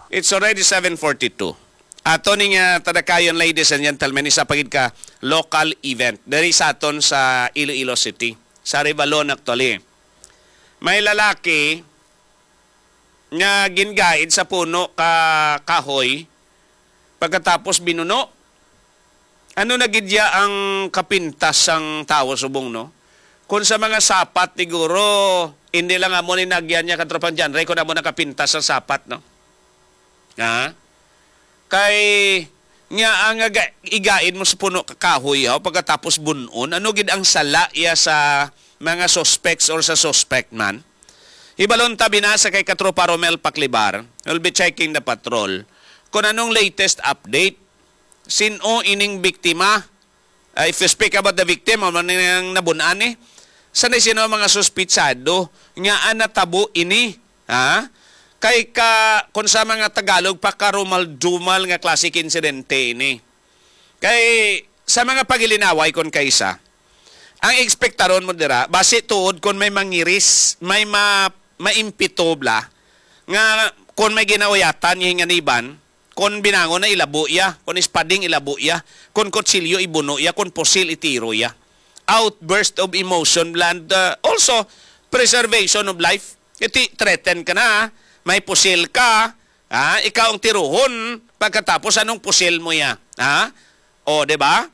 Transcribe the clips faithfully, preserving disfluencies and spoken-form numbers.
It's already seven forty-two. Ato ni nga tadakayon, ladies and gentlemen, isa pa gid ka local event diri sa aton sa Iloilo City, sa Revalon actually. May lalaki nga gingaid sa puno ka kahoy pagkatapos binuno. Ano na gid ya ang kapintas sang tawo subong, no? Kung sa mga sapat, siguro, hindi lang amo ni nagyan niya, Katropang John Ray, kung amo nakapintas ang sapat, no? Ha? Kay, nga ang aga-, igain mo sa puno ka kahoy, ha? Pagkatapos bunon, ano gid ang sala iya sa mga suspects or sa suspect man? Hibalon ta, binasa kay Katropa Romel Paclibar, will be checking the patrol, kung anong latest update. Sin-o ining biktima? Ah, if you speak about the victim, amo ni ang nabun-an ni. Sa ni sino ang mga suspitsado nga ang natabo ini? Ha? Kay ka, kung sa mga Tagalog, pakarumal-dumal nga klase ka insidente ini. Kay sa mga pagilinaway kon kaisa, ang ekspektaron mo dira, basi tuod kon may mangiris, may ma-, maimpito bala, nga kon may ginauyatan nga hinganiban, kon binangon na ilabo iya, kon ispading ilabo iya, kon kutsilyo ibuno iya, kon pusil itiro iya. Outburst of emotion, bala, and, uh, also preservation of life. Iti threaten ka na, may pusil ka, ha? Ikaw ang tiruhon, pagkatapos anong pusil mo iya? Ha? O, di ba?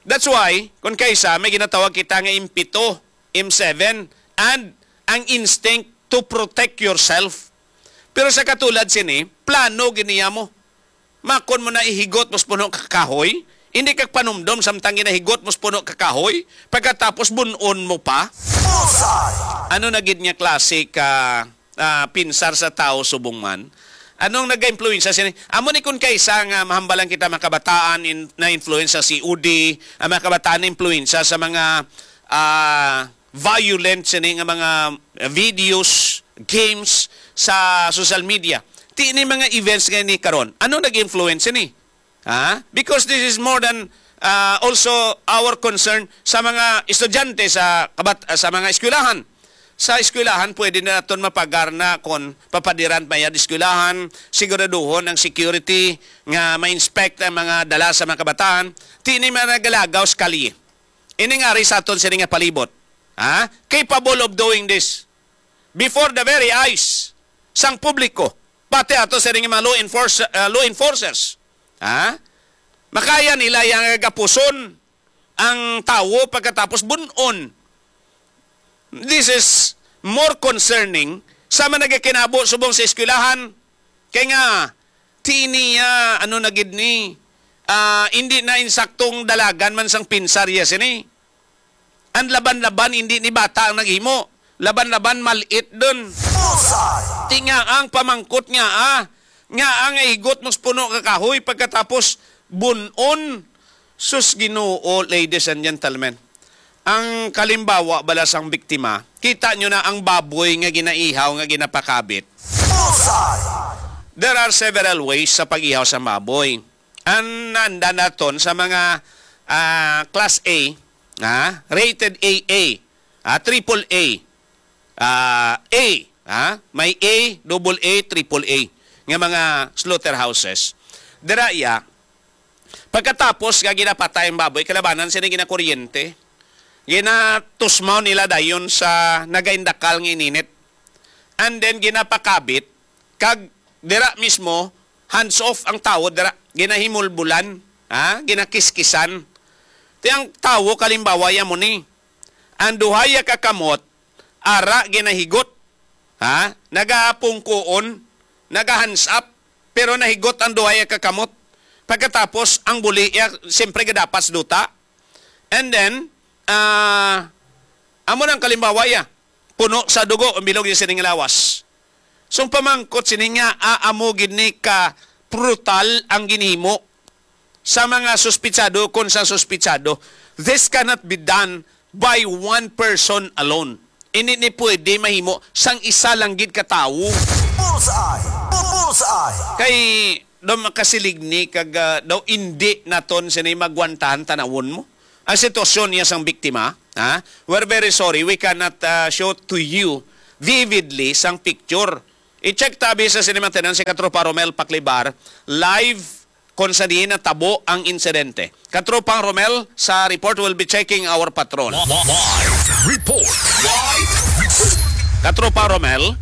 That's why, kung kaisa, may ginatawag kita nga impito, M seven, and ang instinct to protect yourself. Pero sa katulad sini, plano gid niya mo. Makon mo na ihigot mo sa puno ka kahoy, hindi ka panumdom samtang ginahigot mo sa puno ka kahoy, pagkatapos bunon mo pa. Bullseye! Ano na gid nga klase ka, ah, pinsar sa tao subong man? Anong nag-impluwensya sini? Amo ni kun kaisa nga mahambalan kita, mga kabataan in, na-influensya sa C O D, ang mga kabataan na-influensya sa mga, ah, violent sini nga mga videos, games sa social media. Ti ni mga events nga ni karon. Ano nag-influence sini? Ha? Because this is more than, ah, also our concern sa mga estudyante sa kabat-, sa mga eskwelahan. Sa eskwelahan, pwede na naton mapagarna kung papadiran pa yan eskwelahan, siguraduhon ang security nga ma-inspect ang mga dala sa mga kabataan. Ti ni mga nagalagaw sa kalye. Ini nga ari sa aton sini nga palibot. Ha? Capable of doing this before the very eyes sang publiko, pati ato sini nga mga law enforce-, ah, law enforcers. Ha? Makaya nila yang gapuson ang tawo pagkatapos bunon. This is more concerning sa mga nagakinabo subong sa eskwelahan. Kay nga, ti niya, ano na gid ni, ah, hindi na insaktong dalagan man sang pinsar ya sini. Ang laban-laban, hindi ni bata ang naghimo. Laban-laban, malit dun. Bullseye! Ti nga ang pamangkot nga, ah, nga ang igot mo sa puno ka kahoy pagkatapos bunon. Sus Ginoo, ladies and gentlemen. Ang kalimbawa bala sang biktima, kita nyo na ang baboy nga ginaihaw, nga ginapakabit. Bullseye! There are several ways sa pag-ihaw sa baboy. Ang nanda naton sa mga, ah, class A, ah, rated A A, ah, triple A, ah, A, ah, may A, double A, triple A nga mga slaughterhouses. Dira iya, pagkatapos nga ginapatay ang baboy, kalabanan sila ginakuryente, ginatusmaw nila dayon sa nagaindakal nga ininit. And then ginapakabit, kag dira mismo, hands off ang tawo dira, ginahimulbulan, ha? Ginakiskisan. Ti ang tawo, kalimbawa, ya mo ni. Ang duha ya ka kamot, ara ginahigot, ha? Nagapungkuon, nagahands up, pero nahigot ang duha ya ka kamot. Pagkatapos, ang buli, ya, siyempre, gadapat sa duta. And then, ah, amo nang kalimbawa, ya, puno sa dugo ang bilog niya sining lawas. So, ang pamangkot sini nga, ah, amo gid ni ka brutal ang ginhimo sa mga suspitsado kon sa suspitsado. This cannot be done by one person alone. Ini ni pwede mahimo sang isa lang gid ka tawo. Bullseye! Bullseye! Kay daw makasilig ni kag, ah, daw indi naton sini magwantahan tanawon mo. Ang sitwasyon niya sang biktima, ha? We're very sorry, we cannot, ah, show to you vividly sang picture. I-check tabi sa sini man tinuon si Katropa Romel Paklibar, live kung sa diin natabo ang insidente. Katropang Romel, sa report, will be checking our patrol. Live report. Live report. Katropa Romel.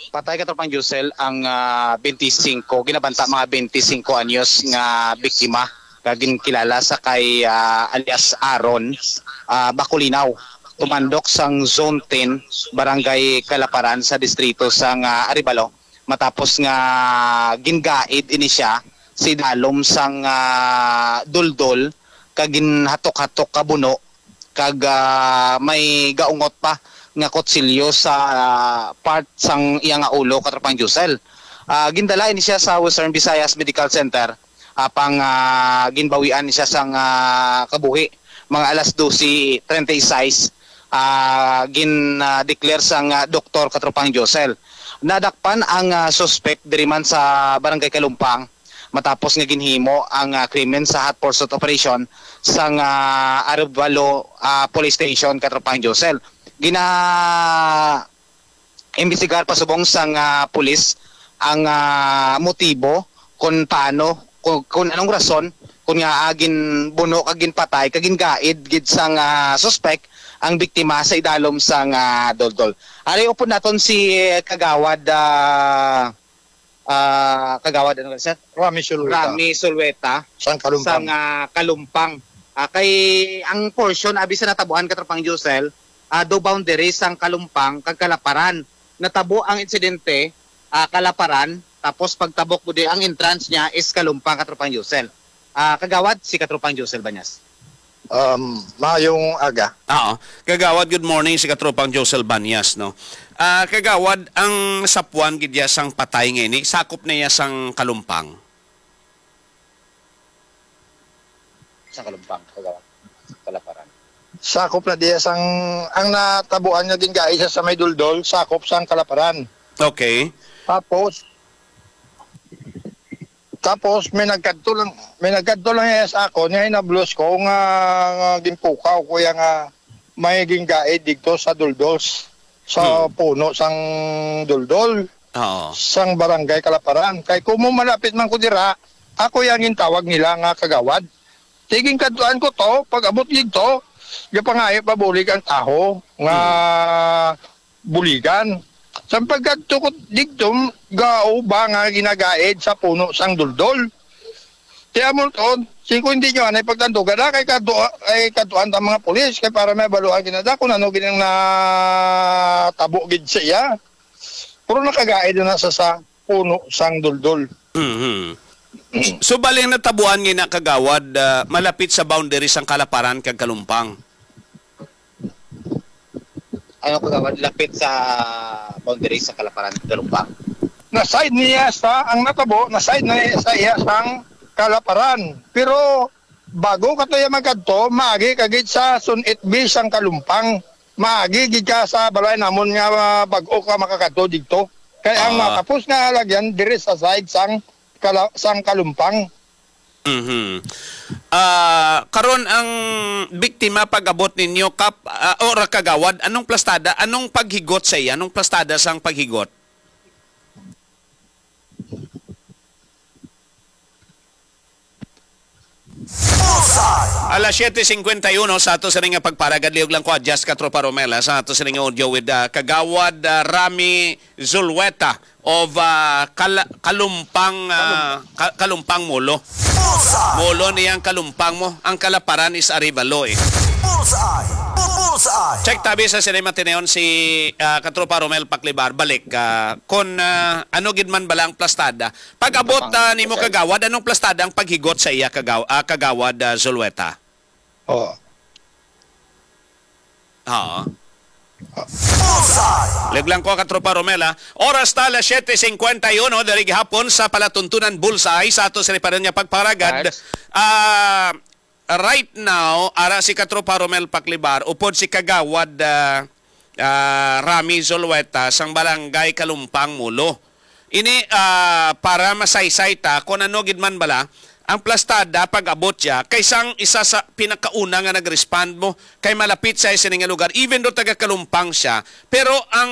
Patay, Katropang Josel, ang, ah, twenty-five, ginabanta mga twenty-five anyos nga biktima, nga ginkilala sa kay, ah, alias Aaron, ah, Bacolinaw, tumandok sang Zone ten, Barangay Calaparan sa distrito sang, ah, Arevalo, matapos nga gingaid ini siya sa idalom sang, ah, duldol kag ginhatok-hatok ka buno kag, ah, may gaungot pa nga kutsilyo sa, ah, part sang iya nga ulo, Katropang Josel. Ah, gindala ini siya sa Western Visayas Medical Center, apang, ah, ginbawian siya sang, ah, kabuhi. Mga alas dose treinta y seis, ah, gin, ah, declare sang, ah, doktor, Katropang Josel. Nadakpan ang, ah, suspek diri man sa Barangay Kalumpang matapos nga ginhimo ang, ah, krimen sa hot pursuit operation sang, ah, Arevalo, ah, Police Station, Katropang Josel. Gina-, imbestigar pa subong sang, ah, pulis ang, ah, motibo kung paano, kung, kung anong rason kung nga, ah, ginbuno kag ginpatay kag gingaid gid sang, ah, suspek ang biktima sa idalom sang, ah, duldol. Ari upod naton si, eh, Kagawad, ah, ah, Kagawad, ano ka, sir? Rami Sulweta. Rami Sulweta. Sang Kalumpang. Sang, ah, Kalumpang. Ah, kay ang portion abi sa natabuan, Katropang Josel, ah, do boundary sang Kalumpang kag Kalaparan. Natabo ang insidente, ah, Kalaparan, tapos pagtabok ko di, ang entrance niya is Kalumpang, Katropang Josel. Ah, Kagawad, si Katropang Josel Banyas. Um, maayong aga. Oo. Kagawad, good morning, si Katropang Josel Banyas, no? Ah, Kagawad, ang sapuan gid ya sang patay nga ini, sakop na ya sang Kalumpang? Sang Kalumpang, Kagawad. Kalaparan. Sakop na diya sang, ang natabuan nga gingaid sa, sa may duldol, sakop sang Kalaparan. Okay. Tapos, tapos may nagkadto lang, may nagkadto lang iya sa ako, niya hinablos ko nga, nga ginpukaw ko iya nga may gingaid dito sa duldol, sa Hmm. puno sang duldol, Oo. sang barangay Kalaparan. Kay kung mo malapit man ko dira, ako yang gintawag nila nga Kagawad. Tiging kadtuan ko to, pag-abot dito, gapangayo pabulig ang taho nga Hmm. buligan. Sa pagkadto ko dito, gauba nga ginagaid sa puno sang duldol. Ti amo to, singko hindi nyo anay pagtandugan na kay kadto, kay kadtuan ta mga pulis, kay para may baluan ginada kung ano ginang natabo gid sa iya. Pero nakagaid na sa, sa puno sang duldol. Mhm. So, bali ang natabuan nga na, Kagawad, ah, malapit sa boundary sang Kalaparan kag Kalumpang? Ano, Kagawad, lapit sa boundary sa Kalaparan, Kalumpang? Na-side niya sa, ang natabo, na-side na niya sa iya sang Kalaparan. Pero bago ka to iya magkadto, maagi ka gid sa Sun eight B sang Kalumpang. Maagi gid ka sa balay namon nga, ah, bago ka makakadto dito. Kay ang Ah. matapos nga lagyan diri sa side sang Kala-, sang Kalumpang. Mhm. Ah, karon ang biktima pag-abot ninyo, Kap, ah, o ra Kagawad, anong plastada, anong paghigot sa iya? Anong plastada sang paghigot? Bullseye! Alas siete cincuenta y uno sa ato sining nga pagparagad, lihog lang ko, adjust, Katropa Romel, ha, sa ato sining nga audio with, ah, Kagawad, ah, Rami Zulueta of, ah, Kal-, Kalumpang, ah, Ka-, Kalumpang Molo. Bullseye! Molo niya ang Kalumpang mo. Ang Kalaparan is Arevalo, eh. Bullseye! Bu-, Bullseye! Check tabi sa sini man tinuon si, ah, Katropa Romel Paklibar. Balik, ah, kung, ah, ano gid man bala ang plastada. Pag-abot, Kalumpang, ah, nimo, Bullseye. Kagawad, anong plastada ang paghigot sa iya, Kagaw-, ah, Kagawad, ah, Zulueta? Oo. Oo. Bullseye! Lihog lang ko, Katropa Romel, ha. Oras ta, alas siete cincuenta y uno, diri gihapon sa palatuntunan Bullseye sa ato sa riparan nga pagparagad. Nice. Ah, right now, ara si Katropa Romel Paklibar, upod si Kagawad, ah, ah, Rami Zulueta, sang Barangay Kalumpang, Molo. Ini, ah, para masaysay ta, kung ano gid man bala, Ang plastada, pag-abot siya, kay sang isa sa pinakauna nga nag-respond mo, kay malapit siya sini nga lugar, even though taga Kalumpang siya, pero ang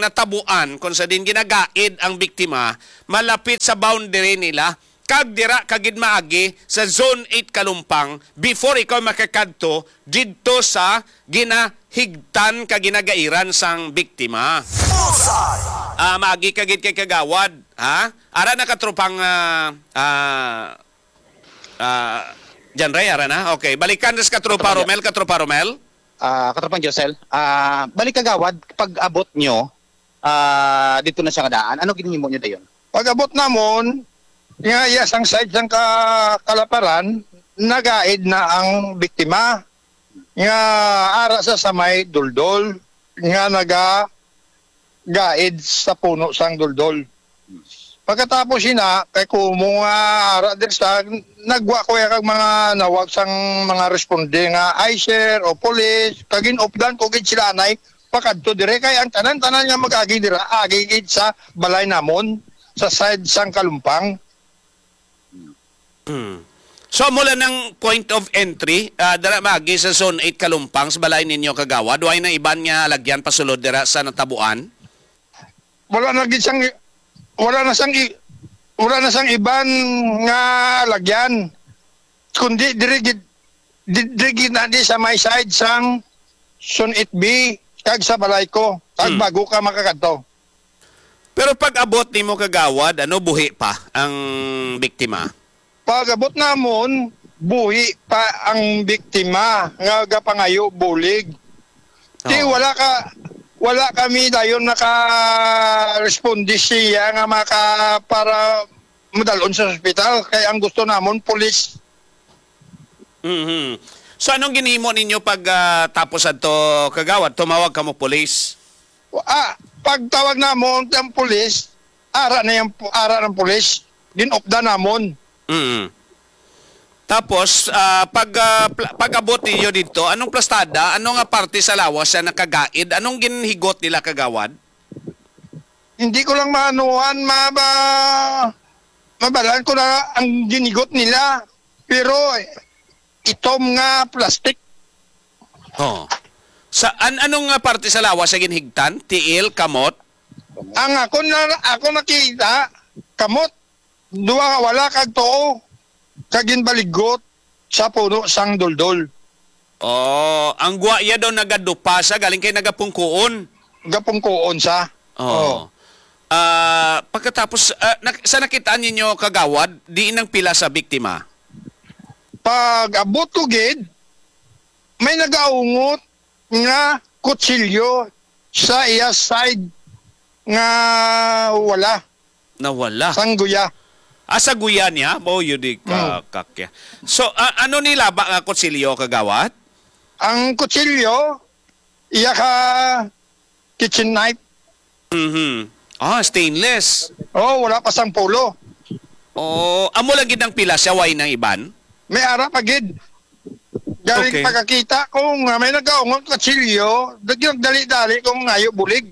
natabuan, kung sa din ginagaid ang biktima, malapit sa boundary nila, kag dira ka gid maagi sa Zone eight Kalumpang before ikaw makakadto didto sa ginahigtan ka ginagairan sang biktima. Bullseye! Ah, maagi ka gid kay Kagawad, ha? Ara na katropang, ah, ah, ah, John Ray, ara na? Okay, balikan sa katropa Katropa Jo- Romel, katropa Romel. Ah, Katropang Josel, ah, balik Kagawad, pag abot nyo, ah, dito na siya nga daan. Ano ginhimo nyo dayon? Pag abot namon, nga iya sang side sang ka-, kalaparan, nagaid na ang biktima. Nga ara sa, sa may duldol, nga naga gaid sa puno sang duldol. Pagkatapos ina, kay kumo nga ara diri sa, nagwa ko ya kag mga nawag sang mga responde nga I C E R o police, kag ginupdan ko gid sila anay pakadto dire, kay ang tanan-tanan nga mag-agi dira, agi gid sa balay namon, sa side sang Kalumpang. Hmm. So, mula ng point of entry, ah, dara maagi sa Zone eight Kalumpang, sa balay ninyo, Kagawad, way na iban nga lagyan pasulod dira sa natabuan? Wala na gid sang, wala na sang i-, wala na sang iban nga lagyan. Kundi diri gid, di-, diri gid na di sa may side sang Zone eight B, kag sa balay ko, kag Hmm. bago ka makakadto. Pero pag abot nimo, Kagawad, ano, buhi pa ang biktima? Pag abot namon, buhi pa ang biktima nga gapangayo bulig. Ti Oo. wala ka, wala kami dayon naka-responde siya nga maka-, para madalon sa ospital. Kay ang gusto namon, pulis. Mhm. So, anong ginhimo ninyo pag, ah, tapos adto, Kagawad? Tumawag kamo pulis? Ah, pagtawag namon ang pulis, ara na yung, ara ng pulis, ginupda namon. Mm. Tapos, ah, pag, ah, pla-, pag-abot ninyo dito, anong plastada? Ano nga parte sa lawas siya nakagaid? Anong ginhigot nila, Kagawad? Hindi ko lang maanuhan, ma-, ma-, mabalaan ko na ang ginigot nila. Pero itom nga plastic. Oh. Sa an-, anong nga parte sa lawas sa ginhigtan? Tiil, kamot? Ang ako na, ako nakita, kamot, duwa nga wala kag tuo, kag ginbaligot sa puno sang duldol. Oh, ang guwa iya daw nagadupa sa galing kay nagapungkuon. Gapungkuon sa. Oh. Oh. Ah, pagkatapos, ah, nak-, sa nakitaan ninyo, Kagawad, diin ang pila sa biktima? Pag abot ko gid, may nagaungot nga kutsilyo sa iya side nga wala. Nawala. Sang guya. Ah, sa guya niya? Oh, yun di ka, Mm. kakya. So, ah, ano ni laba nga kutsilyo, Kagawad? Ang kutsilyo, iya ka kitchen knife. Mhm. Ah, stainless. Oh, wala pa sang pulo. Oh, amo lang gid ang pila siya, way nang iban? May ara pa gid. Galing Okay. pagkakita ko nga may nagaungot kutsilyo, dali-dali kong ngayo bulig.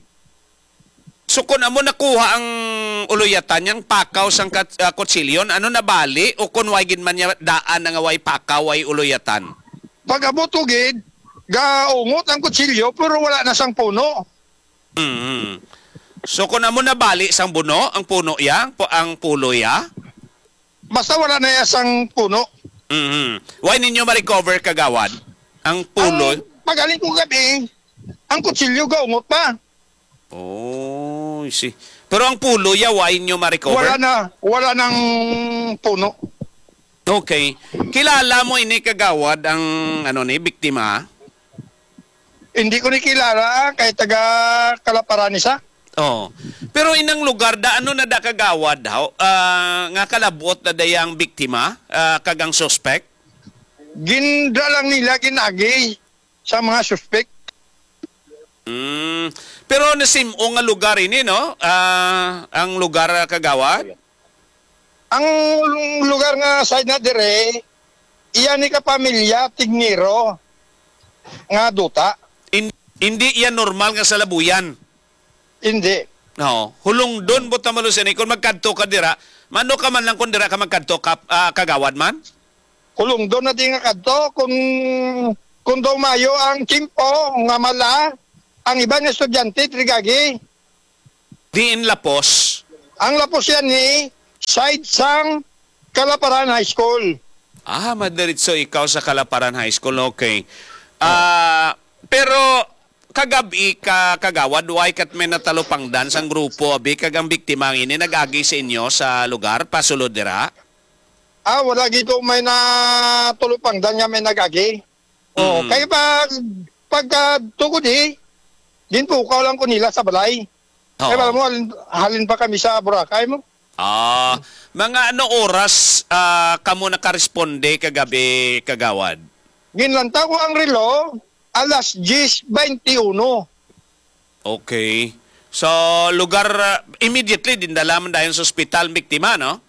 So, kung amo nakuha ang uluyatan niyang pakaw sang kat-, ah, kutsilyo, ano, nabali o kung way gid man niya daan na nga way pakaw, way uluyatan? Pag-abot ko gid, gaungot ang kutsilyo, pero wala na sang puno. Mm. So, kung amo nabali sang buno, ang puno ya, pu-, ang pulo ya? Basta wala na ya sang puno. Mm. Why ninyo ma-recover, Kagawad? Ang pulo? Ang pagaling ko gabi, ang kutsilyo gaungot pa. Oh, I see. Pero ang pulo ya, why nyo ma-recover? Wala na, wala nang puno. Okay. Kilala mo ini, Kagawad, ang, ano, ni biktima? Hindi ko ni kilala, ah, kay taga Kalaparan ni sa. Oh. Pero inang lugar da, ano na da, Kagawad, haw? Ah, nga kalabot na da yang biktima, ah, kag ang suspect? Gindra lang nila, ginagi sa mga suspect. Mm. Pero nasim-o nga lugar ini, no? Ah, ang lugar, ah, Kagawad? Ang lugar nga side na dire, iya ni kapamilya Tignero nga duta. In-, hindi iya normal nga salabuyan. Hindi. No, hulungdon mo tama sini kung magkadto ka dira. Mano ka man lang kung dira ka magkadto ka, ah, kagawad man? Hulungdon na di nga kadto kung, kung daw mayo ang tiyempo nga mala ang iban nga estudyante trigagi. Diin lapos? Ang lapos yan ni side sang Kalaparan High School. Ah, madiretso ikaw sa Kalaparan High School. Okay. Ah, pero kagab-i ka kagawad, why kat may natalupangdan sang grupo abi kag ang biktima ang ini nag-agi sa inyo sa lugar pasulod dira? Ah, wala gid ko may natulupangdan nga may nag-agi. Oh, Mm. Kay pag, pagka tugod eh, ginpukaw lang ko nila sa balay. Oo. Kay alam mo, halin, halin pa kami sa Boracay mo. Ah, mga ano oras, ah, kamo nakaresponde kagabi, kagawad? Ginlantaw ko ang relo, alas diyes bente uno. Okay. So, lugar, ah, immediately, dindala man dayon sa ospital, biktima, no?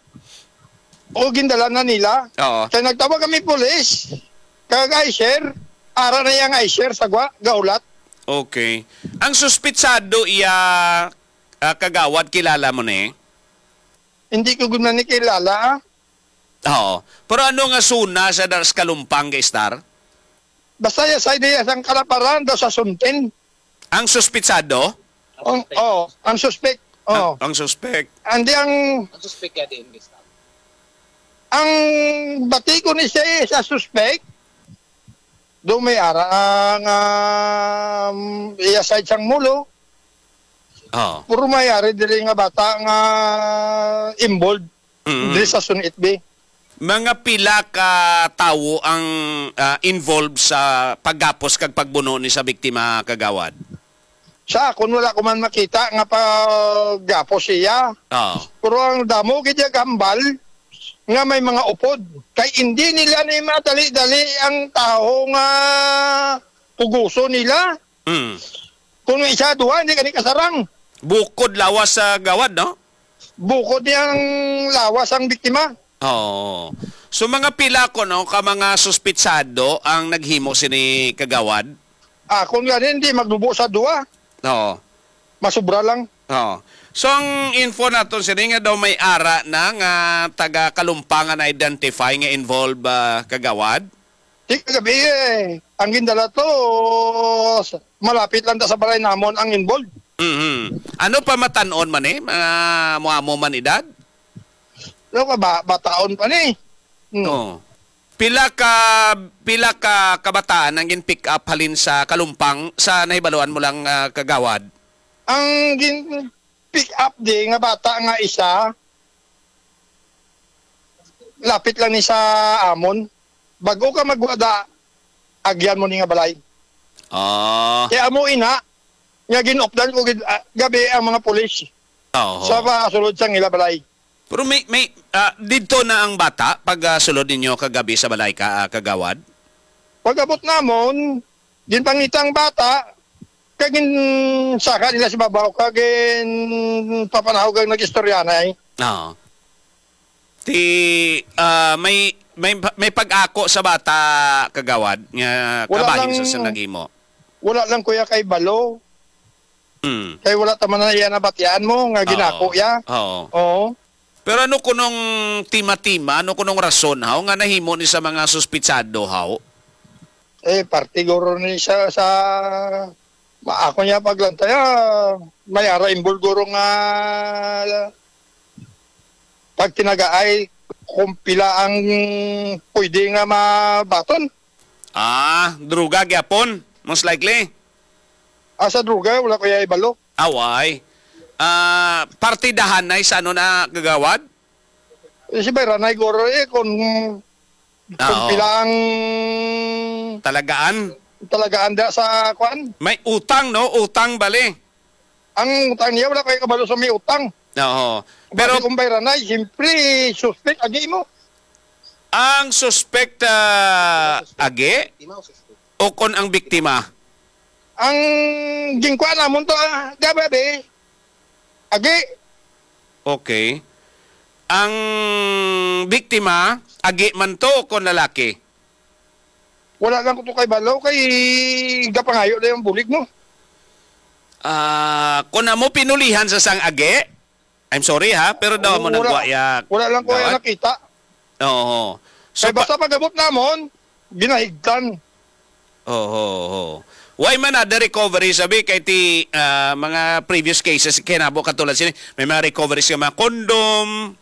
O, gindala na nila. Oo. Kaya nagtawag kami pulis, kag I C R, ara na yang I C R sa gwa, gaulat. Okay. Ang suspitsado iya, ah, kagawad, kilala mo ni? Hindi ko gud man ni kilala, ah. Oo. Pero ano nga suna sa Daras Kalumpang, ga-star? Basta ya sa ideya sang Kalaparan daw sa Suntin. Ang suspitsado? Ang, oh, ang suspect. Oh. Ang, ang suspect. Andi ang Ang suspect kaya diin, Mister? Ang bati ko ni siya sa suspect, do may ara ang, um, iya side sang mulo. Oh. Puro may ari diri nga bata nga involved. Mm. Diri sa Sunit B. Mga pila ka tawo ang, ah, involved sa paggapos kag pagbuno ni sa biktima, kagawad? Sa akon, wala ko man makita nga paggapos siya. Oo. Pero ang damo gid yung hambal nga may mga upod. Kay hindi nila ni madali-dali ang tawo nga puguso nila. Mm. Kung isa, duha, hindi ka ni kasarang. Bukod lawas sa gawad, no? Bukod niyang lawas ang biktima. Oo. So, mga pila ko, no, ka mga suspitsado ang naghimo sini kagawad? Ah, kung gani, hindi maglubo sa duha. Oo. Masubra lang. Oo. So, ang info naton sini nga daw may ara na nga taga Kalumpangan identify nga involved, ah, kagawad? Di kagabi eh. Ang gindala to, s-, malapit lang ta sa balay namon ang involved. Mhm. Ano pa matan-on man eh? Mga muamo man edad? Ano ka ba? Bataon pa ni. Hmm. Oo. Pila ka, pila ka kabataan ang gin-pick up halin sa Kalumpang sa nahibaluan mo lang, ah, kagawad? Ang gin-pick up di nga bata nga isa, lapit lang ni sa amon. Bago ka magwada, agyan mo ni nga balay. Ah. Kaya amo ina, nga ginupdan ko gid, ah, gabi ang mga pulis Oo. sa pasulod sang ila balay. Pero may, may, ah, didto na ang bata pag, ah, sulod ninyo kagabi sa balay ka, ah, kagawad? Pag-abot namon, ginpangita ang bata, kag ginsaka nila sa babaw, kag ginpapanahog ang nag-istoryanay. Oo. Ti, ah, may, may, may pag-ako sa bata, kagawad, nga Wala kabahin lang, sa, sa naghimo. Wala lang, kuya, kay balo. Mm. Kay wala ta man na iya nabatian mo nga ginako Oo. iya. Oo. Oo. Pero ano kunong tima-tima, ano kunong rason, haw, nga nahimo ni sa mga suspitsado, haw? Eh, parte guro ni sa, sa, ma-, ako niya paglantaya, may ara involved guro nga pagtinagaay kung pila ang pwede nga mabaton. Ah, droga gyapon, most likely. Ah, sa droga, wala ko ya ibalo. Away. Ah, partidahanay sa ano na, kagawad? Eh, si Bayranay guro, eh, kung, kung Ah, oo. pila ang Talagaan? talagaan da sa kwan. May utang, no? Utang, bali. Ang utang niya, wala ko yung kabalo sa may utang. Oo. Pero Pero kung Bayranay, siyempre, suspect, agi mo. Ang suspect, ah, agi? O kon ang biktima? Ang gingkuan namon to, ah, gabi, abi. Agi. Okay. Ang biktima, agi man to o kon lalaki? Wala lang ko to kay balo, kay gapangayo na yung bulig mo. Ah, kung amo pinulihan sa sang agi, I'm sorry ha, pero daw mo nang Wala, guwaya. wala lang ko Dawat? Nakita. Oo. So, Kaya basta pag-abot namon, ginahigtan. Oo, oo. Why man na the recovery sabi kay ti ah, mga previous cases kinabo katulad sini may mga recoveries nga mga condom,